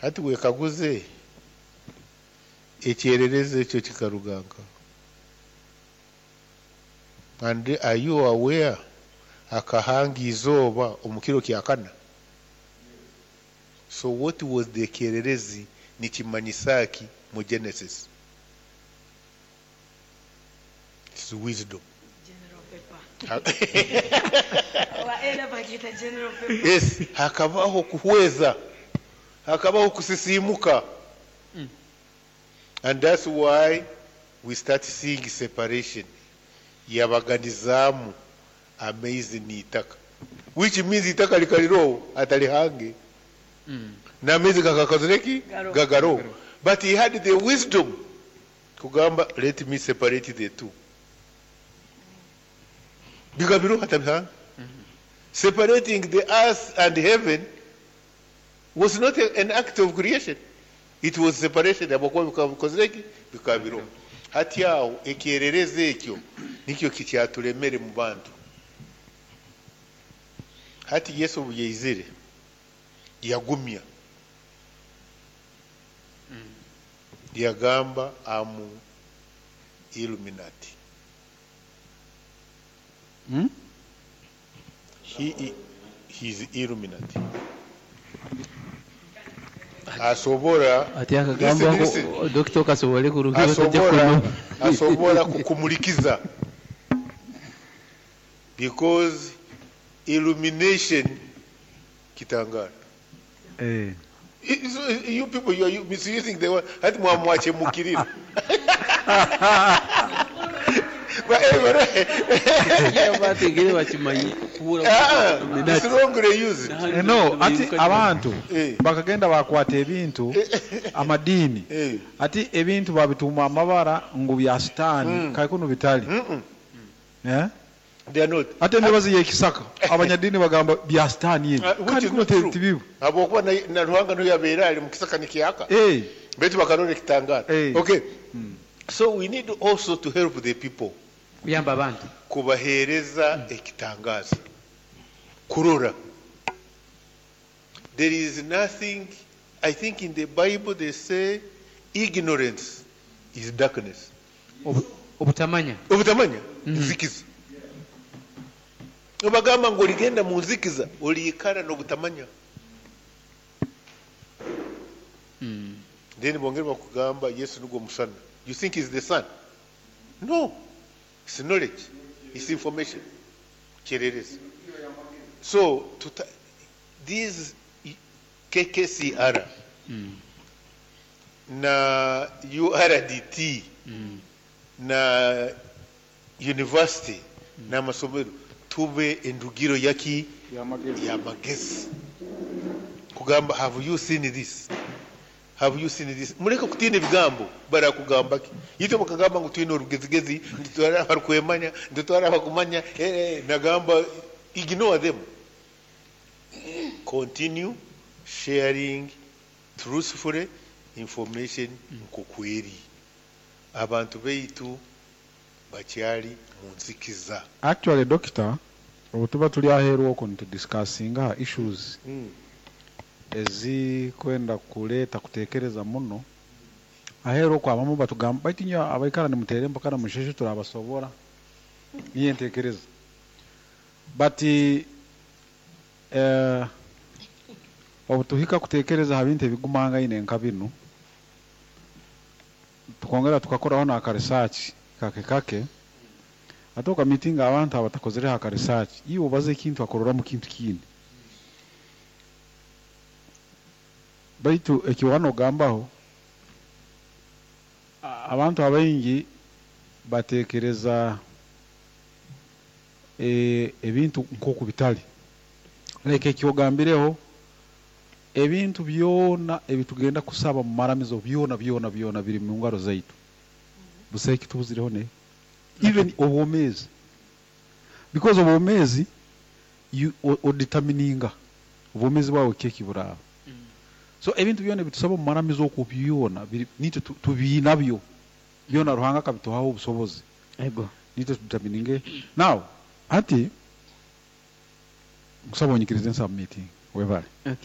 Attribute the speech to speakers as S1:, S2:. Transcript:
S1: Hati wekaguze, ekyererezi ekyo kikaruga nka? And are you aware akahanga izooba omu kiro kya kana? So what was the kyererezi, nikimanyisa ki mu Genesis? It's wisdom.
S2: General Pepper. Oba era bakiyita General Pepper.
S1: Yes, hakabaho kuhweza, hakabaho kusisiimuka. And that's why we start seeing separation. Yabaganizaamu amaizi n'itaka, which means itaka likaliroho atalihange, n'amaizi gakakozire ki?
S2: Garoho.
S1: Gagaroho, but he had the wisdom kugamba, "Let me separate the two." Bigabiroho atabihanga. Separating the earth and heaven was not an act of creation, it was separation, habwokuba bikaba bikozire ki? Bikaba biroho. Hati aho ekyererezi ekyo nikyo kikyatulemere mu bantu. Hati Yesu obu yaizire yagumya, yagamba, "Am Illuminati." He's Illuminati, asobora
S3: Ati akagamba
S1: Listen, listen.
S3: Dokita okasobole kurukira.
S1: Asobora kukumulikiza, because illumination kitangara.
S4: Eh.
S1: You people, you are misusing the word. Hati mwamwachemukirira.
S3: Bategere bakimanyi kubura.
S1: Ah, it's wrongly used.
S4: Eh, no, ati abantu bakagenda bakwata ebintu amadiini, ati ebintu babituuma amabara ngu bya sitaani, kaikunu bitali. Eh?
S1: They are not.
S4: Ate emibazi y'ekisaka abanyadiini bagamba bya sitaani ebi,
S1: Ah, which
S4: kandi
S1: is
S4: kuno
S1: not true.
S4: tibibu.
S1: Habwokuba na Ruhanga niyo yabeera ali mukisaka nikyaka.
S4: Eh.
S1: Baitu bakarora ekitangara.
S4: Eh.
S1: Okay. So we need also to help the people.
S3: Kuyamba abantu.
S1: Kubaheereza ekitangaza kurora. There is nothing, I think in the Bible they say ignorance is darkness.
S3: Obutamanya.
S1: Obutamanya nzikiza. Obagamba ngu oligenda mu nzikiza, oliikara n'obutamanya. Then bongere bakugamba Yesu nugwo musana. You think is the sun? No, it's knowledge, it's information, kyererezi. So these KKCR na URDT na university n'amasomero tube endugiro yaki? Yamagezi. Kugamba, "Have you seen this? Have you seen this?" Muleke kutiina ebigambo barakugamba ki. Itwe bakagamba ngu twine orugezigezi, ntitwara abarukwemanya, ntitwara abakumanya. Nagamba, ignore them, continue sharing truthfully information nkokweri. Abantu beitu bakyali mu nzikiza.
S4: Actually, doctor, obu tuba tuli aheeru okwo nitudiscussinga issues ezikwenda kuleeta kuteekereza muno aheeru okwo, abamu batugamba, "Baitu inywe abaikara nimuteera empaka na musheshe, turabasobora." Niyo enteekereza, but obu tuhika kuteekereza ha bintu ebigumangaine nka binu, tukongera tukakoraho n'aka research kake kake, ate okamitinga abantu abatakozereho aka research, iwe obaza ekintu akororamu kintu kindi. Baitu ekiwana ogambaho, abantu abaingi bateekereza ebintu nk'oku bitali. Like ekyogambireho, ebintu byona ebitugenda kusaba mu maramizo, byona byona byona biri mu ngaro zaitu, busaho ekitubuzireho, ne even obwomeezi, because obwomeezi odetermininga obwomeezi bwawe keki buraaba. So ebintu byona ebitusaba omu maramizo okwo byona nitwe tubiinabyo byona, Ruhanga akabituhaho obusobozi. Nitwe tudetermininge. Now hati nkusaba onyikirize nsubmitting, webale.
S3: Okay.